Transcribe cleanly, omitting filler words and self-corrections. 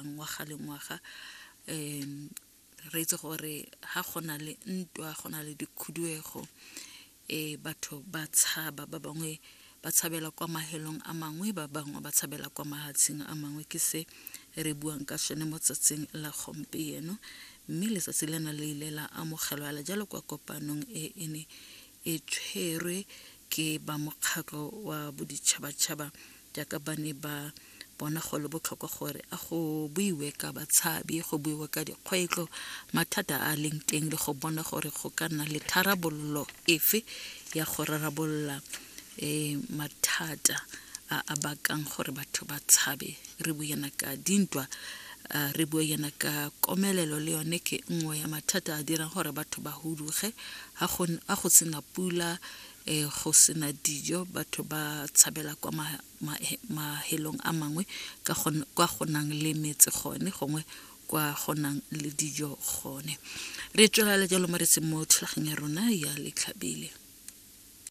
diragadiwang ngwaga le ngwaga um re itse gore ha go na le ntwa go na le dikhuduego um batho ba tshaba ba bangwe ba tshabela kwa mahelong a mangwe ba bangwe ba tshabela kwa mahatsheng a mangwe ke se re buang ka sone mo tsatsing la gompieno mme letsatsi lena le ile la amogelwa la jalo kwa kopanong e e ne e tshwerwe ke ba mokgatlho wa boditšhabatšhaba jaaka ba ne ba bona go le botlhokwa gore a go buiwe ka batshabi go buiwe ka dikgwetlho mathata a a leng teng le go bona gore go ka nna le tharabololo efe ya go rarabolola um mathata a a bakang gore batho ba tshabe re bue yana ka dintwa re bue yana ka komelelo le yone ke nngwe ya mathata a dirang gore batho ba huduge ga go sena pula um go sena dijo batho ba tshabela kwa mahelong a mangwe kwa go nang le metse gone gongwe kwa go nang le dijo gone re tswelela jalo mo re mo thulaganyo ya rona ya letlhabile.